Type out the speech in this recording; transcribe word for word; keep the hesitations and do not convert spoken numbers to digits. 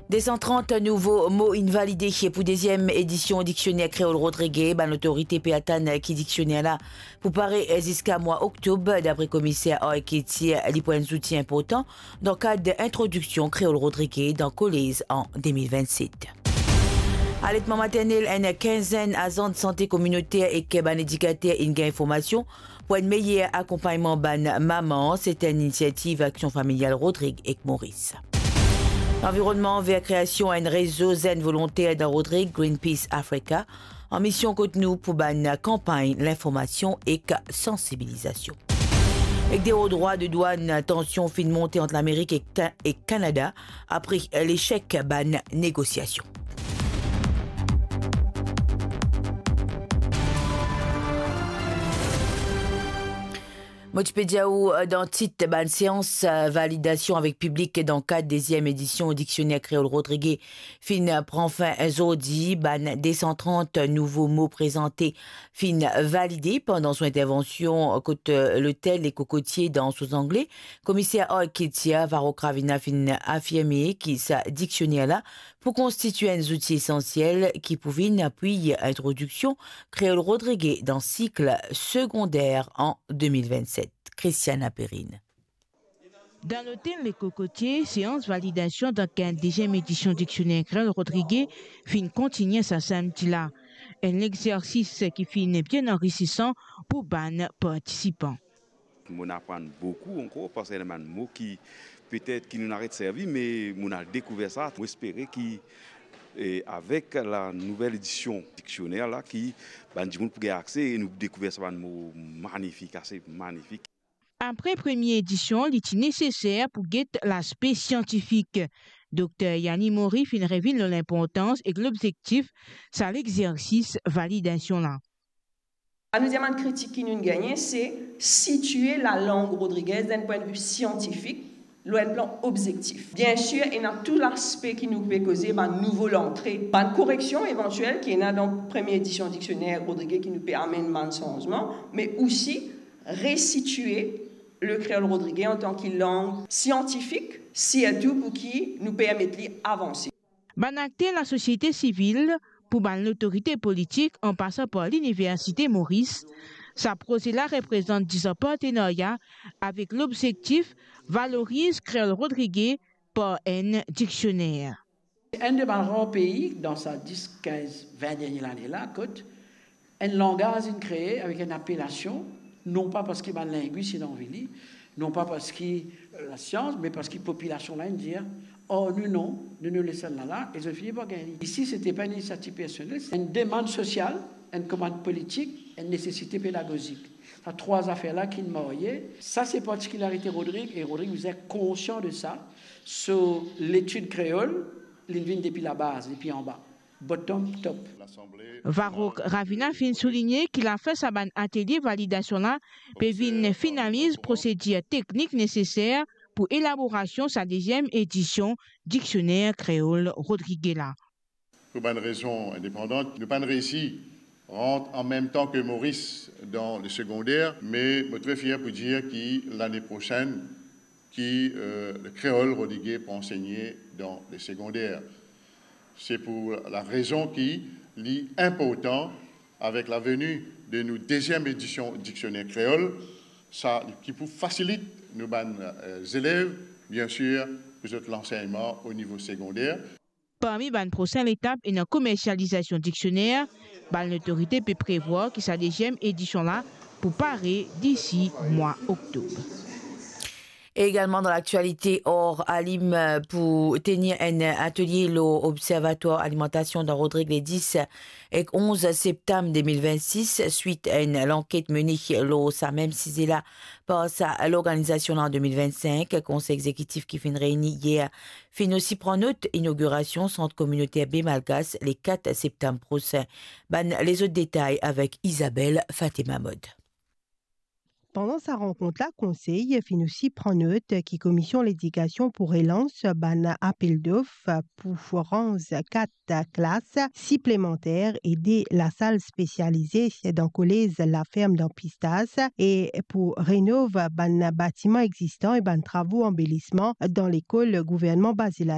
De san trant nouvo mo inn valide pou deziem edision Diksioner Kreol Rodrige. Bann lotorite pe atann ki diksioner la pou pare ziska mwa oktob, dapre komiser Ark Ketia. Li pou enn zouti inportan dan kad introdiksion kreol rodrige dan kolez an de mil vennset. Aletman maternel, enn kinzenn azan de sante kominoter ek bann edikater inn gagn formasion pou enn meyer akonpagnman bann mama. Se enn inisiativ Aksion Familial Rodrig ek Moris. Lanvironnman, ver kreasion enn rezo zenn volonter dan Rodrig, Greenpeace Africa, an mision kot nou pou bann kanpagn linformasion ek sansibilizasion. Ek de o drwa de dwann, tansion finn monte ant Lamerik ek Ka-, ek Kanada apre lesek bann negosiasion. Mo ti pe dir ou, eh, dan tit, bann seans, eh, validasion avek piblik dan kad deziem edision Diksioner Kreol Rodrige finn pran fin zordi. Bann de san trant nouvo mo prezante finn valide pandan son intervansion kot, eh, lotel Le Cocotier dan Sault-Anglais. Komiser Ark Ketia, Varrok Ravina finn afirme ki sa diksioner la pou konstitye enn zouti esansiel ki pou vinn apwiy introdiksion kreol rodrige dan sik segonder an de mil vennset. Christiana Perrine. Dan lotel Le Cocotier, seans validasion dan kad deziem edision Diksioner Kreol Rodrige finn kontigne sa samdi la. Enn lexersis ki finn bien anrisisan pou bann partisipan. Mo'nn aprann boukou ankor, parski ena bann mo ki petet ki nou'nn aret servi, me mo'nn al dekouver sa. Mo espere ki, eh, avek la nouvel edision diksioner la, ki bann dimoun pou gagn akse e nou dekouver sa bann mo manifik, ase manifik. Apre premie edision, li ti neseser pou get laspe siantifik. Dokter Yanni Mori finn revinn lor linportans ek lobzektif sa lexersis validasion la. Sa nou dir, bann kritik ki nou'nn gagne, se sitie lalang rodrigez dan enn pwin de vi siantifik, lor enn plan obzektif. Biensir, ena tou laspe ki nou pe koze, bann nouvo lantre, bann koreksion evantiel ki ena dan premie edision diksioner rodrige ki nou pe amenn bann sanzman, me osi resitie lekreol rodrige antan ki lang siantifik, sirtou pou ki nou permet li avanse. Bann akter lasosiete sivil, pou bann lotorite politik, an pasan par Liniversite Moris, sa proze la reprezant dizan partenarya avek lobzektif valoriz kreol rodrige par enn diksioner. Enn de bann rar pei dan sa dis, kinz, vin dernie lane la, kot enn langaz inn kree avek enn apelasion, non pa parski bann lingwis inn anvi li, non pa parski, eh, lasians, me parski popilasion la inn dir, "Oh, nou non, nou, nou les enn la la," e zot fini par gagn li. Isi, se ti pa enn inisiativ personel, se enn demann sosial, enn komann politik, enn nesesite pedagozik. Sa trwa zafer la ki inn marye. Sa se partikilarite Rodrig, e Rodrig bizin konsian de sa. So letid kreol, li vinn depi labaz, depi anba. Bottom top. Varrok Ravina finn souligne ki lafin sa bann atelie validasion la pe vinn finaliz prosedir teknik neseser pou elaborasion sa deziem edision Diksioner Kreol Rodrige la. Pou bann rezon indepandan, nou pa'nn reisi rant an mem tan ki Moris dan le segonder, me mo tre fier pou dir ki lane prosenn, ki, eh, lekreol rodrige pou ansegne dan le segonder. Se pou la rezon ki li inportan, avek laveni de nou deziem edision Diksioner Kreol, sa ki pou fasilit nou bann, eh, zelev, biensir, pou zot lansegnman o nivo segonder. Parmi bann prosin letap ena komersializasion diksioner. Bann lotorite pe prevwar ki sa deziem edision la pou pare disi mwa oktob. E egalman dan laktialite, Or Alim pou tenir enn atelie lor Observatwar Alimantasion dan Rodrig le dis ek onz septam de mil vennsis, swit a enn lanket mene lor sa mem size la par sa lorganizasion la an de mil vennsink. Konsey Egzekitif ki finn reyni yer finn osi pran not inogirasion Sant Kominoter Be Malgas le kat septam prosin. Bann lezot detay avek Isabelle Fatima Mod. Pandan sa rankont la, Konsey finn osi pran not ki Komision Ledikasion pou relans bann apel dof pou ranz kat klas siplemanter e de lasal spesialize dan kolez Laferm dan Pistas e pou renov bann batiman egzistan e bann travo anbelisman dan lekol Gouvernman Baze Lala.